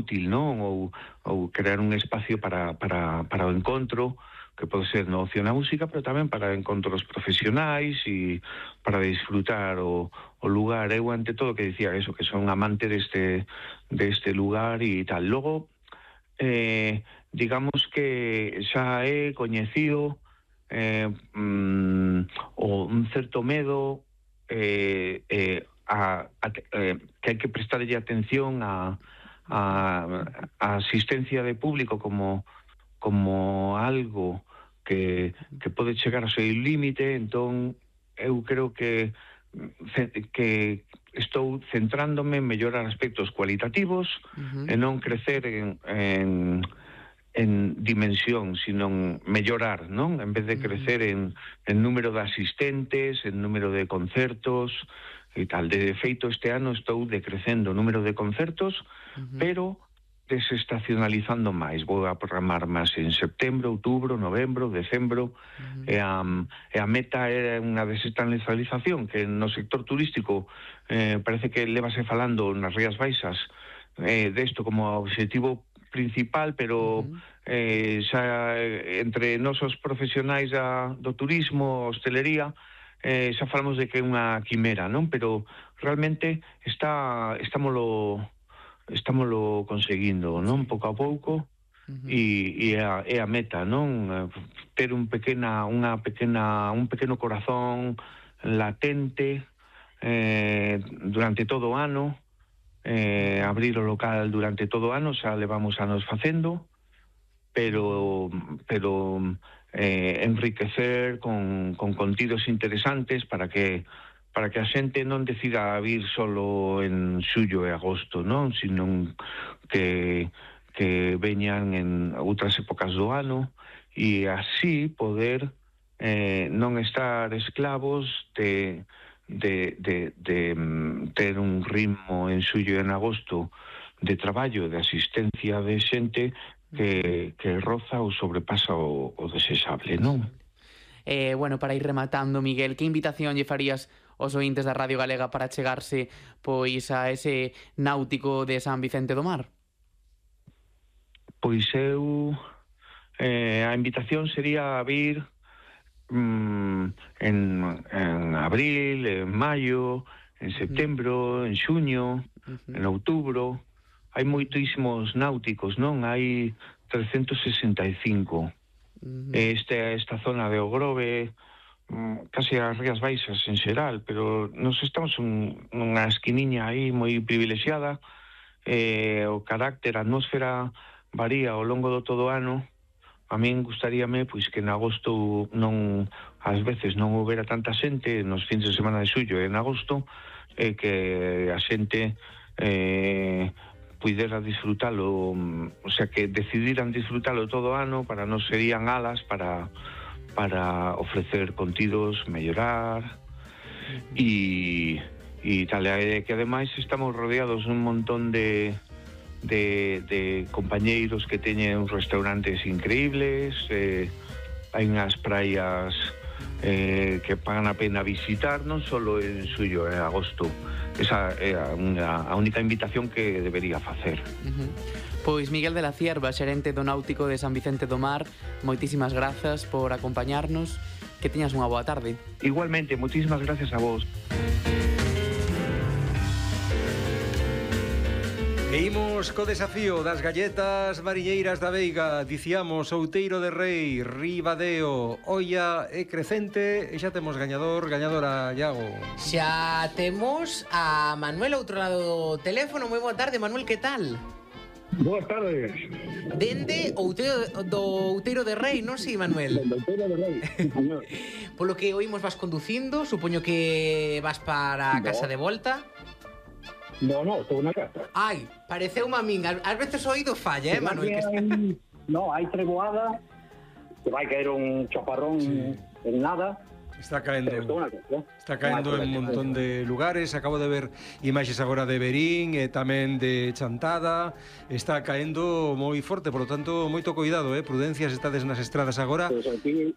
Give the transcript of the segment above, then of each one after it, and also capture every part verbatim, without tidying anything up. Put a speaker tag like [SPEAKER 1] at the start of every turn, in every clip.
[SPEAKER 1] útil, non? Ou, ou crear un espacio para, para, para o encontro, que pode ser no ocio na música, pero tamén para encontros profesionais e para disfrutar o, o lugar. Eu, ante todo, que dicía eso, que son amante deste, deste lugar e tal. Logo, eh, digamos que xa é coñecido eh, mm, o un certo medo eh, eh, a, a, eh, que hai que prestarlle atención a, a, a asistencia de público como como algo que, que pode chegar a ser límite. Entón eu creo que que estou centrándome en mellorar aspectos cualitativos uh-huh. e non crecer en, en, en dimensión, sino mellorar, non? En vez de crecer en, en número de asistentes, en número de concertos e tal. De feito, este ano estou decrecendo o número de concertos, uh-huh. pero desestacionalizando máis. Vou a programar máis en setembro, outubro, novembro, decembro, uh-huh. e, a, e a meta é unha desestacionalización que no sector turístico eh, parece que levase falando nas Rías Baixas eh, desto como objetivo principal, pero uh-huh. eh, xa entre nosos profesionais da, do turismo, hostelería, eh, xa falamos de que é unha quimera, non? Pero realmente está, estámolo estámoslo conseguindo, non? Pouco a pouco, uh-huh. e, e a, é a meta, non? Ter un pequena, unha pequena, un pequeno corazón latente eh, durante todo o ano, eh, abrir o local durante todo o ano, xa levamos anos facendo, pero pero eh, enriquecer con, con contidos interesantes para que para que a xente non decida vir solo en xullo e agosto, non? Sino que, que veñan en outras épocas do ano e así poder eh, non estar esclavos de, de, de, de, de ter un ritmo en xullo e en agosto de traballo, de asistencia de xente que, que roza ou sobrepasa o, o desexable, non?
[SPEAKER 2] Eh, bueno, para ir rematando, Miguel, que invitación lle farías os ointes da Radio Galega para chegarse pois a ese náutico de San Vicente do Mar?
[SPEAKER 1] Pois eu eh, a invitación sería a vir mm, en, en abril, en maio, en setembro, uh-huh. en xuño, uh-huh. en outubro. Hai moitísimos náuticos, non? Hai trescentos sesenta e cinco. Uh-huh. Este, esta zona de Ogrove, casi as Rías Baixas en xeral, pero nos estamos un, nunha esquiniña aí moi privilexiada. Eh, o carácter, a atmósfera varía ao longo do todo ano. A min gustaríame pois que en agosto non, ás veces non houbera tanta xente nos fins de semana de xullo e en agosto, e eh, que a xente eh, puidera disfrutalo, o sea, que decidiran disfrutalo todo o ano, para non serían alas para para ofrecer contidos, mellorar e, e tal, e que ademais estamos rodeados un montón de, de, de compañeiros que teñen restaurantes increíbles, eh, hai unhas praias eh, que pagan a pena visitar, non só en xullo e agosto. Esa é a, unha, a única invitación que debería facer.
[SPEAKER 2] Uh-huh. Pois Miguel de la Cierva, xerente do Náutico de San Vicente do Mar, moitísimas grazas por acompañarnos, que teñas unha boa tarde.
[SPEAKER 1] Igualmente, moitísimas gracias a vos.
[SPEAKER 3] E imos co desafío das galletas mariñeiras da Veiga. Diciamos Outeiro de Rei, Ribadeo, Oia e Crecente. E xa temos gañador, gañadora, Iago.
[SPEAKER 4] Xa temos a Manuel outro lado do teléfono. Moi boa tarde, Manuel, que tal?
[SPEAKER 5] Boas tardes.
[SPEAKER 4] Dende Outeiro do Outeiro de Rei, non si, Manuel?
[SPEAKER 5] Dende Outeiro de Rei, señor.
[SPEAKER 4] Polo que oímos vas conducindo, supoño que vas para a casa de volta.
[SPEAKER 5] No, no, estou na casa.
[SPEAKER 4] Ai, pareceu-me a min. Ás veces o oído falla, eh, Manuel? Que está...
[SPEAKER 5] No, hai treboada, que vai caer un chaparrón sí. en nada.
[SPEAKER 3] Está caendo, está caendo en un montón de lugares. Acabo de ver imaxes agora de Verín e tamén de Chantada. Está caendo moi forte, por lo tanto, moito cuidado, eh? Prudencias, estades nas estradas agora.
[SPEAKER 5] Pues aquí,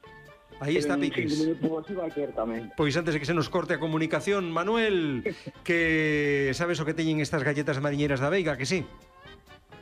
[SPEAKER 3] aí está Piquis. Pois antes de que se nos corte a comunicación, Manuel, que sabes o que teñen estas galletas mariñeiras da Veiga, que sí?